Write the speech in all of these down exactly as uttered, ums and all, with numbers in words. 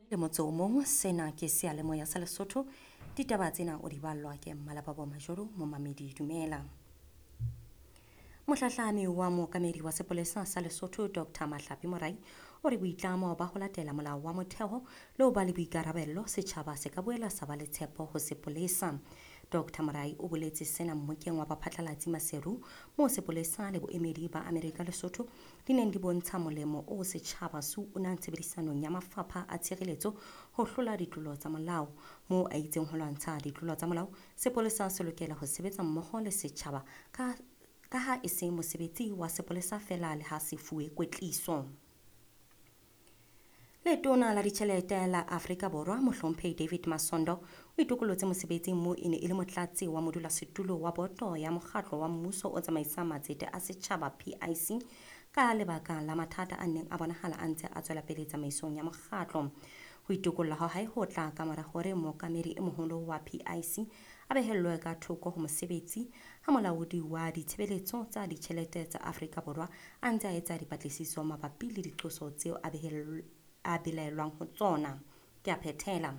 Le motso o mong, sena ke seyalemoya sa Lesotho. Ditaba tsena o di ballwa ke Mmalababo Majoro, momamedi dumela. Mohlahlami wa mookamedi wa sepolesa sa Lesotho Doctor Mahlapi Morai o re boitlamo ba ho latela molao wa motheo le ho ba le boikarabello setjhaba se ka boela sa ba le tshepo ho sepolesa. Doctor Morai o boletse sena mmokeng wa baphatlalatsi Maseru moo sepolesa le boemedi ba Amerika Lesotho di neng di bontsha molemo o setjhaba se unang tshebedisanong ya mafapha a tshireletso ho hlola ditlolo tsa molao. Moo a itseng ho lwantsha ditlolo tsa molao, sepolesa se lokela ho sebetsa mmoho le setjhaba ka ka ha e se mosebetsi wa sepolesa feela le ha se fuwe kwetliso. Letona la ditjhelete la Afrika Borwa Mohlomphehi David Masondo o itokolotse mosebetsing moo e ne e le motlatsi wa modulasetulo wa boto ya mokgatlo wa mmuso o tsamaisang matsete a setjhaba P I C ka lebaka la mathata a neng a bonahala a ntse a tswela pele tsamaisong ya mokgatlo. Ho itokolla ha hae ho tla ka mora hore mookamedi e moholo wa P I C a behellwe ka thoko ho mosebetsi ha molaodi wa ditshebeletso tsa ditjhelete tsa Afrika Borwa a ntse a etsa dipatlisiso mabapi le diqoso tseo a behell-, a belaellwang ho tsona. Ke a phethela.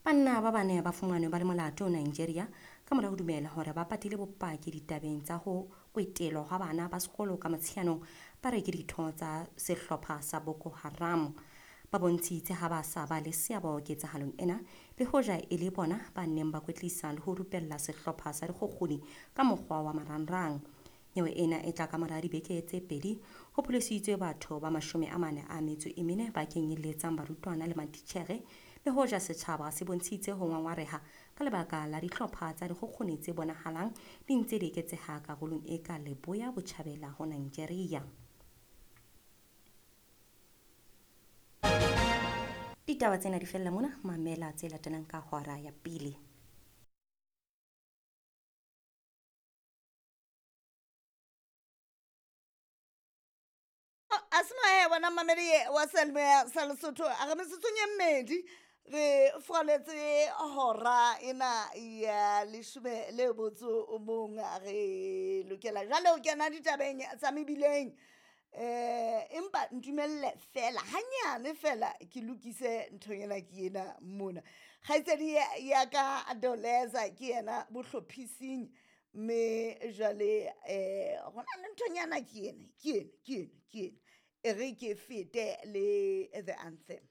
Banna ba bane ba fumanwe ba le molato Nigeria ka mora ho dumela hore ba patile bopaki ditabeng tsa ho kwetelwa hwa bana ba sekolo ka Motsheanong ba re ke ditho tsa sehlopha sa Boko Haram. Ba bontshitse ha ba sa ba le seabo ketsahalong ena le hoja e le bona ba neng ba kwetlisa le ho rupella sehlopha sa dikgukguni ka mokgwa wa marangrang. Nyewe ena e tla ka mora dibeke tse pedi ho pholositswe batho ba mashome a mane a metso e mene ba kenyelletsang barutwana le matitjhere le hoja setjhaba se bontshitse ho ngwangwareha ka lebaka la dihlopha tsa dikgukguni tse bonahalang di ntse di eketseha karolong e ka leboya botjhabela ho Nigeria. Ditaba tsena di fella mona, mamela tse latelang ka hora ya pele. Asma wena mamedi wa Seyalemoya sa Lesotho, a re metsotsong e mmedi re furaletse hora ena ya leshome le motso o mong. Re lokela jwale ho kena ditabeng tsa mebileng. Eh, empa ntumelle fela hanyane fela ke lokise nthonyana ke ena mona. Kgaitsedi ya ka Doleza ke yena bohlophising, mme jwale eh hona le nthonyana ke ena, ke ena, ke ena, ke ena. E re ke fete le the anthem.